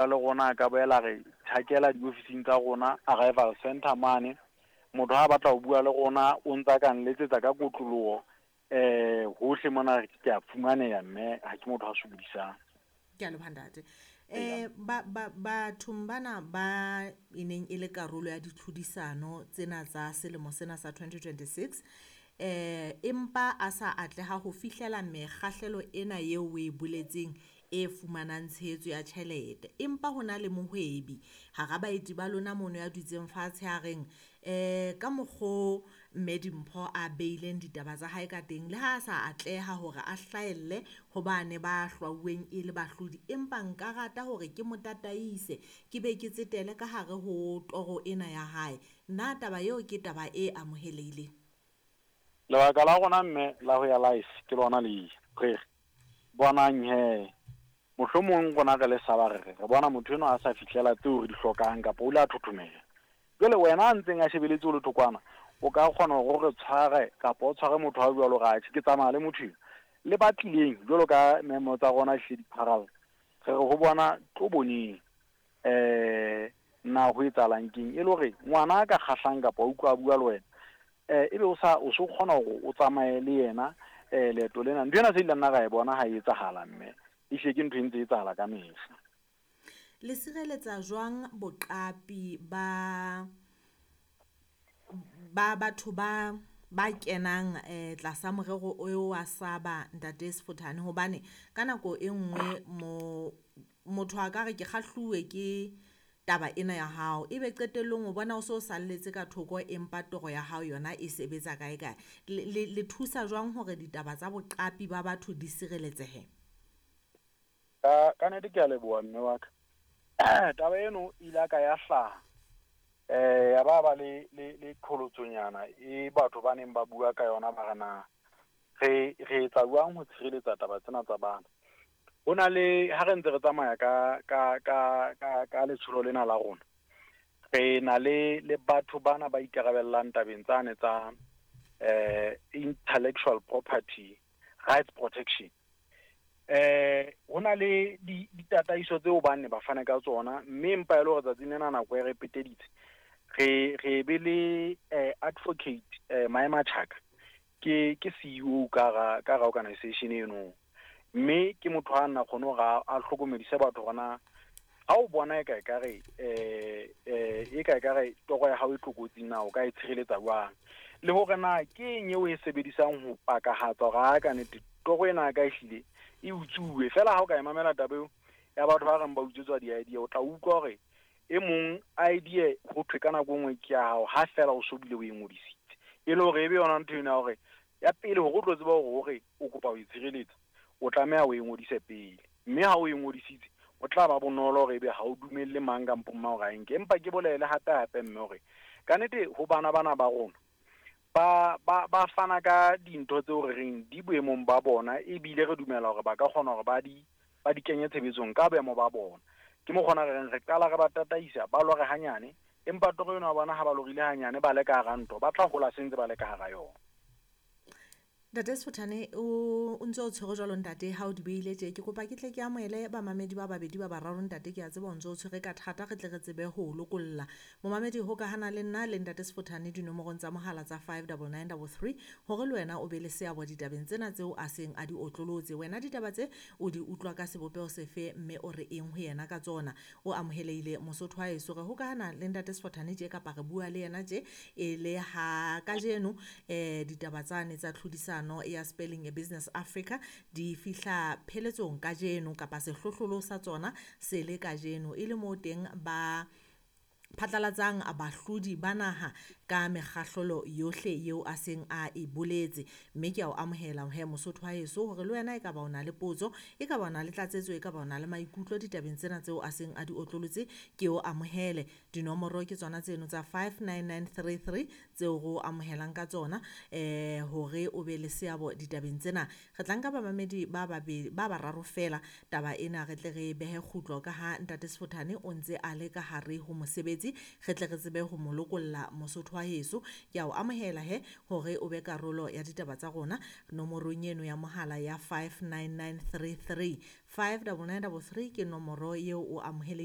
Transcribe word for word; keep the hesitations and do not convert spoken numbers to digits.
Le rona a ka boela re tjhakela diofising tsa rona arrival center mane. Motho ha a batla ho bua le rona, o ntsa ka nletsetsa ka kotloloho eh hohle mona ke a fumaneha, mme ha ke motho a sokodisang. Ke a leboha, ntate. Eh ba ba bathong bana ba e neng e le karolo ya ditlhodisano tsena tsa selemo sena sa twenty twenty-six, eh empa a sa atleha ho fihlela mekgahlelo ena eo o e boletseng e fumanang tshehetso ya tjhelete, empa ho na le mohwebi hara baeti ba lona mono ya dutseng fatshe a reng eh ka mokgo mme Dimpho a beileng ditaba tsa hae ka teng, le ha a sa atleha hore a hlahelle hobane ba hlwauweng e le bahlodi, empa nka rata hore ke mo tataise, ke be ke tsetele ka hare ho toro ena ya hae. Na taba eo ke taba e amohelehileng? Lebaka la rona, mme, la ho ya live ke lona le re bonang he mohlomong rona re le saba, re re re bona motho enwa a sa fihlela tseo re di hlokang kapa o ile a thothomela. Jwale wena a ntseng a shebeletse o le thokwana, o ka kgona hore o re tshware kapa o tshware motho a jwalo hore atjhe ke tsamaya le motho eo. Le ba tlileng jwalo ka memo tsa rona hlile di pharalla, re re ho bona tlo boneng eh na ho etsahalang keng, e le hore ngwana a ka kgahlang kapa o utlwa a bua le wena, eh ebe o sa o so kgona hore o tsamaye le yena eh leeto lena. Ntho ena se ile nna ra e bona ha e etsahala, mme ehlile ke ntho e ntse e etsahala ka mehla. Le sireletsa jwang boqapi ba ba batho ba ba kenang eh tlasa morero o wa saba, ntate Sefothane? Hobane ka nako e nngwe mo motho a ka re ke kgahluwe ke taba ena ya hao, ebe qetellong o bona o so salletse ka thoko, empa toro ya hao yona e sebetsa kae kae. Le, le, le thusa jwang hore ditaba tsa boqapi ba batho di sireletsehe? Ka ka nnete ke a leboha, mme wa ka. Taba eno ile ka ya hlaha eh ya ba ba le le le qholotsonyana e batho ba neng ba bua ka yona, ba re na re re etsa jwang ho tshireletsa taba tsena tsa bana. Ho na le ha re ntse re tsamaya ka ka ka ka ka letsholo lena la rona, re na le le batho bana ba ikarabellang tabeng tsane tsa eh intellectual property rights protection. Eh ho na le ditataiso tseo ba ne ba fana ka tsona, mme empa e le hore tsatsing lena nako e re peteditse, re re be le eh, advocate eh, Maema Chaka, ke ke C E O ka ra ka ra organization eno, mme ke motho a nna kgone hore a hlokomedise batho hore na ha o bona e ka e kare eh eh e ka e kare toro ya hao e tlokotsing, na o ka e tshireletsa jwang, le hore na ke eng eo e sebedisang ho pakahatsa hore ha ka nnete toro ena ka ehlile e utsuwe fela. Ha o ka e mamela taba eo ya batho ba reng ba utswetswa di-idea, o tla utlwa hore e mong idea ho thwe ka nako e nngwe ke ya hao ha fela o so bile o e ngodisitse, e le hore e be yona ntho ena ya hore ya pele hore o tlo tseba hore hore o kopa ho e tshireletsa, o tlameha o e ngodise pele, mme ha o e ngodisitse o tla ba bonolo hore ebe ha o dumelle mang kampo mang hore a e nke. Empa ke bolele hape hape, mme, hore kannete ho bana bana ba rona ba ba ba fana ka dintho tseo re reng di boemong ba bona, ebile re dumela hore ba ka kgona hore ba di ba di kenye tshebetsong ka boemo ba bona. Ke mo kgona re reng re qala re ba tataisa, ba lore hanyane, empa toro eno ya bona ha ba lorile hanyane ba le ka hara ntho, ba tla hola se ntse ba le ka hara yona. Ntate Sefothane, o o ntse o tshwere jwalo, ntate, ha o di beile tje, ke kopa ke tle ke amohele bamamedi ba babedi ba bararo. Ntate, ke a tseba o ntse o tshwere ka thata, re tle re tsebe ho o lokolla. Momamedi, hokahana le nna le ntate Sefothane dinomorong tsa mohala tsa five double nine double three hore le wena o be le seabo ditabeng tsena tseo a seng a di otlolotse. Wena ditaba tse o di utlwa ka sebopeho sefe, mme o re eng ho yena ka tsona? O amohelehile, Mosotho wa heso. Re hokahana le ntate Sefothane tje kapa re bua le yena tje e le ha kajeno eh ditaba tsane tsa tlhodisano ya Spelling a Business Africa di fihla pheletsong kajeno, kapa sehlohlolo sa tsona se le kajeno, e le moo teng ba phatlalatsang bahlodi ba naha ka mekgahlelo yohle eo a seng a e boletse. Mme ke a o amohela he, Mosotho wa heso, hore le wena e ka ba o na le potso, e ka ba o na le tlatsetso, e ka ba o na le maikutlo ditabeng tsena tseo a seng a di otlolotse, ke o amohele. Dinomoro ke tsona tseno tsa five nine nine three three tseo re o amohelang ka tsona eh hore o be le seabo ditabeng tsena. Re tla nka bamamedi ba babedi ba bararo fela, taba ena re tle re behe kgutlo, ka ha ntate Sefothane o ntse a le ka hare ho mosebetsi, re tle re tsebe ho mo lokolla. Mosotho wa heso, ke a o amohela he hore o be karolo ya ditaba tsa rona nomorong eno ya mohala ya five nine nine three three, five double nine double three ke nomoro eo o amohelehileng.